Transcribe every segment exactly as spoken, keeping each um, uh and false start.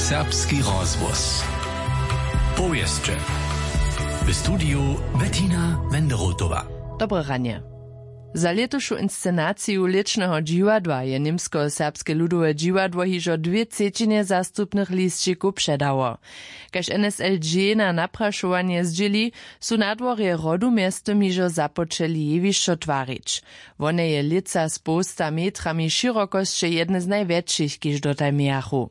Serbski rozhłos. Powěsće. W studiju Bettina Wenderotowa. Dobre ranje. Za lětušu inscenaciju lěćneho dźiwadła je němskoserbske ludowe dźiwadło hižo dwě třećinje zastupnych lisćikow předało. Kaž N S L G na naprašowanje zdźěli, su na dworje Rodu mjeztym hižo započeli jewišćo twarić. Wone je lětsa z połsta metrami šěrokosće jedne z najwjetšich, kiž dotal mějachu.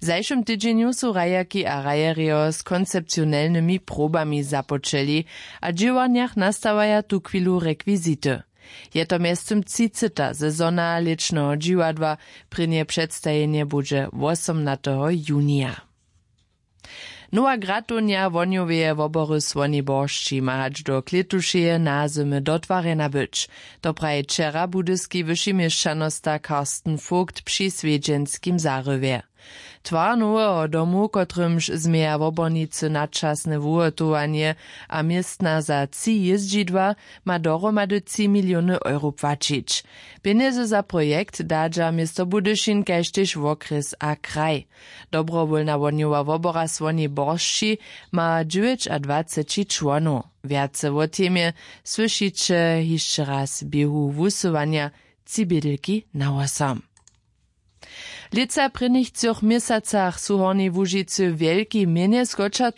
W zašłym tydźenju su hrajerki a hrajerjo z koncepcionelnymi probami započeli a w dźěłarnjach nastawaja tuchwilu rekwizity. Je to mjeztym třiceha sezona lěćneho dźiwadła. Prěnje předstajenje budźe wosomnateho junija. Nowa gratownja wohnjoweje wobory Słoni Boršći ma hač do klětušeje nazymy dotwarjena być. To praji wčera budyski wyši měšćanosta Carsten Vogt při swjedźenskim zarywje. Twar noweho domu, kotrymž změja wobornicy na časne wuhotowanje a městna za tři jězdźidła, ma dohromady tři miliony euro płaćić. Pjenjezy za projekt dadźa město Budyšin kaž tež wokrjes a kraj. Dobrowólna wohnjowa wobora Słoni Boršći ma dźewjećadwaceći čłonow. Wjace wo temje słyšiće hišće raz w běhu wusyłanja. Tři bědelki na wosom. W lětsa prěnich třoch měsacach su w Hornjej Łužicy wjelki měnje skoča